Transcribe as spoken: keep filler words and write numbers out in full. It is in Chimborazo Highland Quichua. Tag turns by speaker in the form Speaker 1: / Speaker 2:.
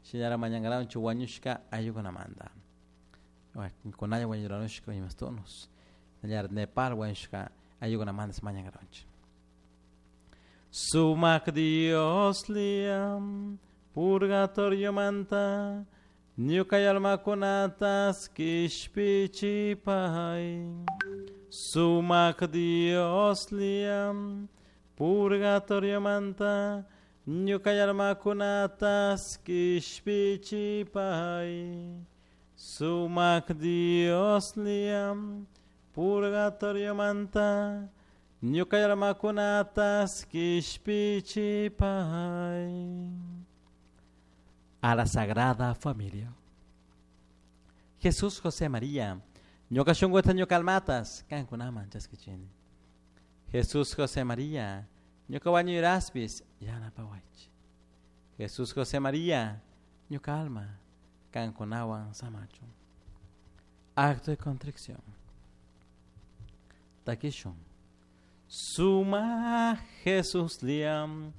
Speaker 1: Shinara mañangaraunchik wañushka ayllukunamanta. Kunalla wañuranushka imastunus. Shinallara Nepal wañushka ayllukunamanta mañangaraunchik. Sumak Dios liam purgatorio manta ñuka almakunatas kishpichipay. Sumak Dios liam purgatorio manta ñuka almakunatas kishpichipay. Sumak Dios liam purgatorio manta ñuka almakunatas kishpichipay. A la Sagrada Familia. Jesús, José, María, ñuka shunkuta ñuka almatas kankunaman chaskichini. Jesús, José, María, ñuka wañuyraspis yanapawaychik. Jesús, José, María, ñuka alma kankunawan samachun. Acto de contrición. Takishun. Suma Jesús liam